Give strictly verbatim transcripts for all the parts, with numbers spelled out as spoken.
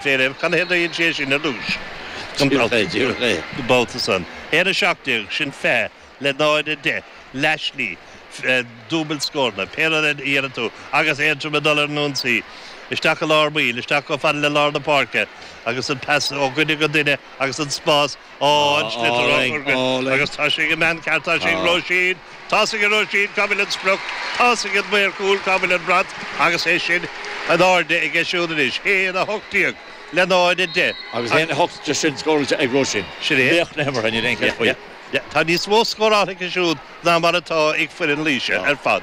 Féidir can hé sé sin ar dtús. Babhta san. Haon a seacht déag sin fiche le náid a deich leathshlí dúbailt scóranna, pé rud a dhéanann tú agus Aontroim ag dul ar an ionsaí. Isteach i lár baill, isteach chomh fada le lár na páirce agus an pas ó dhuine go duine agus an spás á an sliotar á chur go agus tá sé ag an mbean ceart, tá sé ag Róisín, tá sé ag Róisín, cá bhfuil an sprioc, tá sé ag an maor cúil, cá bhfuil an brat agus é sin in airde aige siúd anois. Haon a hocht déag le náid a deich. Agus haon a hocht déag sin scóráilte ag Róisín. Sin é. Laoch na himeartha, níl aon cheist faoi. Tá níos mó scóráilte aici siúd ná mar atá ag foireann Laoise ar fad.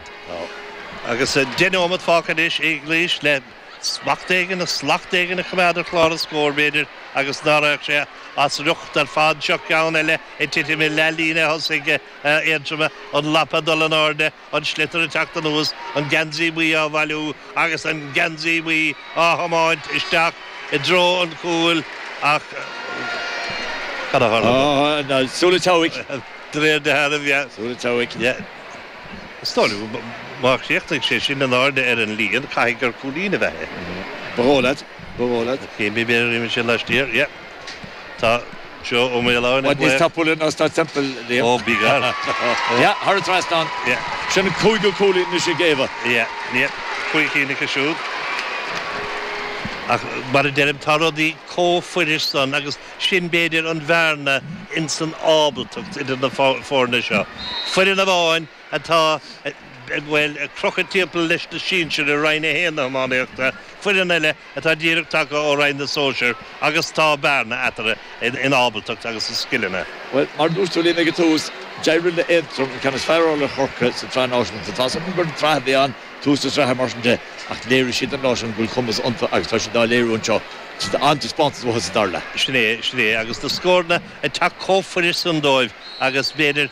Agus deich nóiméad fágtha anois ag Laois le smacht éigin, slacht éigin a choimeád ar chlár an scóir, b'fhéidir, agus ná raghadh sé as riocht ar fad. Seo ceann eile ag titim i leathlíne thosaigh Aontroma, an lapa ag dul in airde, an sliotar ag teacht anuas, an geansaí buí á bhailiú agus an geansaí buí á thiomáint isteach i dtreo an chúil ach cad a tharla dó? Súil an tseabhaic. De réir dealraimh, yeah. Súil an tseabhaic. Yeah. Is dóigh liom má chríochnaigh sé sin in airde ar an líon, caithfidh gur cúilín a bheith é. Ba dhóigh leat. Ba dhóigh leat. Cé b'fhéidir imigh sé laistiar, yeah. Tá Joe Ó Maoláin ag Níos tapúla ná Staid Semple, Liam. Ó, bí gar. Yeah, thar an trasnán. Yeah. Sin an cúigiú cúilín anois ag Éabha. Yeah, yeah. Cúig cinn aici siúd. Ach mar a deirim, tá rudaí chomh fuirist san agus sin b'fhéidir an bhearna ins an ábaltacht idir na foirne seo. Foireann amháin atá, bhuel, ag crochadh timpeall leis na sinsir i Roinn a haon na hiománaíochta, foireann eile atá díreach tagtha ó Roinn na Sóisear agus tá bearna eatarthu in ábaltacht agus i scileanna. Bhuel, mar a dúirt tú Liam ag an tús, d'éirigh le Aontroim an ceann is fearr a fháil ar Chorcaigh sa tsraith náisiúnta. Tá 's agam gur an tsraith a bhí ann, tús na sraithe mar sin de, ach léirigh siad an lá sin go bhfuil cumas iontu agus tá siad á léiriú anseo. An-taispeántas uathu sa dara leath. Sin é, sin é, agus na scóranna ag teacht chomh fuirist san dóibh agus b'fhéidir,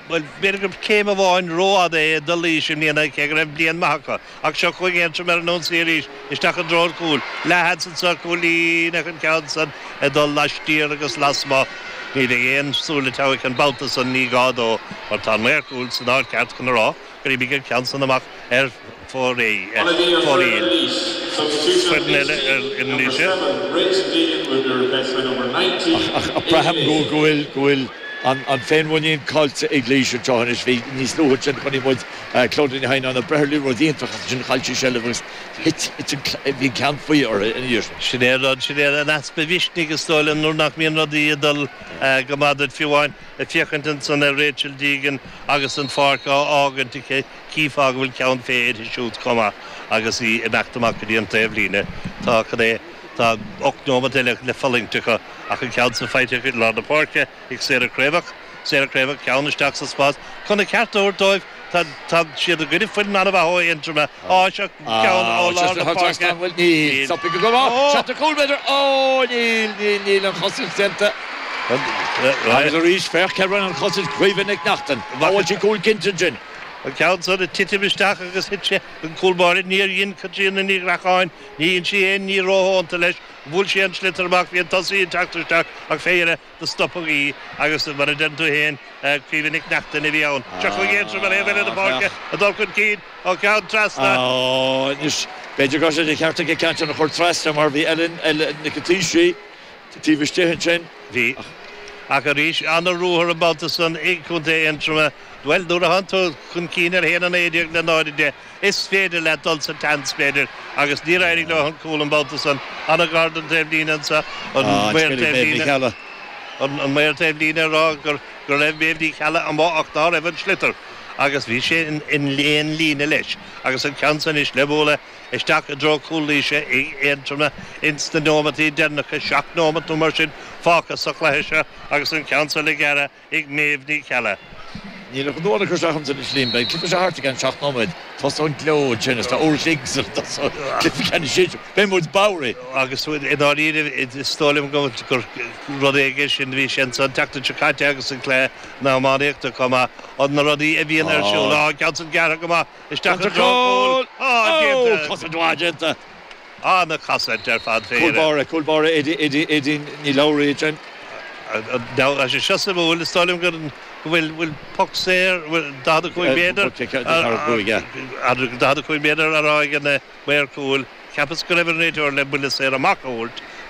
bhuel, b'fhéidir gur céim amháin rófhada é do Laois i mbliana, cé go raibh bliain maith acu. Ach seo chugainn Aontroim ar an ionsaí arís, isteach i dtreo an chúil. Leathsheans anseo, cúilín ach an ceann san ag dul laistiar agus lasmuigh. Ní bheidh aon súil an tseabhaic an babhta san, ní gá dó, mar tá an maor cúil san áit cheart chun a rá gur imigh an ceann san amach ar fóraoil. Foireann eile ar Laoise. Ach braithim go bhfuil go bhfuil an féinmhuinín caillte ag Laois anseo anois. Bhí níos luaithe ansin chonaic muid Clodagh Ní Theimhneáin ag breith ar liathróid iontach ach ansin chaill sí seilbh agus thit bhí an ceann faoi uirthi ina dhiaidh sin. Sin é an rud, sin é an easpa mhisnigh is dóigh liom nuair nach mbíonn rudaí ag dul go maith duit fiú amháin. Ag féachaint ansan ar Rachel Deegan agus an pháirc á fhágaint aici, chífeá go bhfuil ceann fé uirthi siúd chomh maith agus í ag imeacht amach go dtí an taobhlíne. Tá, cad é, tá ocht nóimeat eile le fulaingt acu ach an ceann san faighte acu i lár na páirce ag Sarah Craobhach. Sarah Craobhach, ceann isteach sa spás chun an ceart a thabhairt dóibh. Tá, tá siad i gcoinne foireann an-mhaith ó Aontroim. Á, seo ceann ó lár na páirce. Níl, níl, stopfaidh go maith. Seachtar cúl b'fhéidir. Ó, níl, níl, níl an chosaint déanta. Agus arís, féach cé rinne an chosaint, Caoimhe Nic Neachtain. Bhuail sí cúl cinnte ansin. An ceann san ag titim isteach agus thit sé an cúl báire. Níor dhein Caitríona Ní Ghreacháin, ní dhein sí aon ní rófhónta leis. Bhuail sí an sliotar amach, bhí an tosaí ag teacht isteach ach fé dheireadh do stopadh í agus mar a deireann tú féin, Caoimhe Nic Neachtain a bhí ann. Seo chugainn Aontroim ar thaobh eile na páirce ag dul chun cinn ó cheann trasna. Anois, b'fhéidir go raibh sé de cheart aici ceann sin a chur trasna mar bhí Ellen Nic an Taoisigh taobh istigh ansin. Bhí. Ach arís, ana-ruathar an babhta san ag Contae Aontroma. Bhuel, nuair a thánn tú chun cinn ar haon a naoi déag le náid a deich, is féidir leat dul sa tseans, b'fhéidir, agus níor éirigh leo an cúl an babhta san. An-ghar don taobhlíne anso, an maor taobhlíne. An maor taobhlíne ag rá gur go raibh Méabh Ní Cheallaigh amuigh ach ná raibh an sliotar agus bhí sé in aon líne leis agus an ceann san anois le bualadh isteach i dtreo cúl Laoise ag Aontroim ins na nóimeataí deireanacha, seacht nóimeat nó mar sin fágtha sa chluiche seo agus an ceann san le gearradh ag Méabh Ní Cheallaigh. Níl ach an uair a chur isteach ansin anois Liam, beidh an cluiche seo thart i gceann seacht nóiméad. Tosóidh an gleo ansin is tá uair a chloig sula dtosóidh cluiche ceannais sinsir. Beidh muid bodhraithe. Agus i ndáiríre is dóigh liom go gur rud éigin sin, bhí sé ansan an tseachtain seo caite agus an cluiche na hiománaíochta chomh maith, an na rudaí a bhíonn ar siúl. Á, an ceann san gearrtha go maith isteach i dtreo an chúil. Á, déanta. Cosaint mhaith déanta. An-chosaint ar fad fé Cúl báire, cúl báire Aedín Ní Labhraí ansin. Tá sé seo suimiúil, is dóigh liom go bhfuil bhfuil poc saor, bhfuil daichead a cúig méadar, daichead a cúig méadar á rá ag an maor cúil. Cheapas go raibh an réiteoir le buille saor amach a thabhairt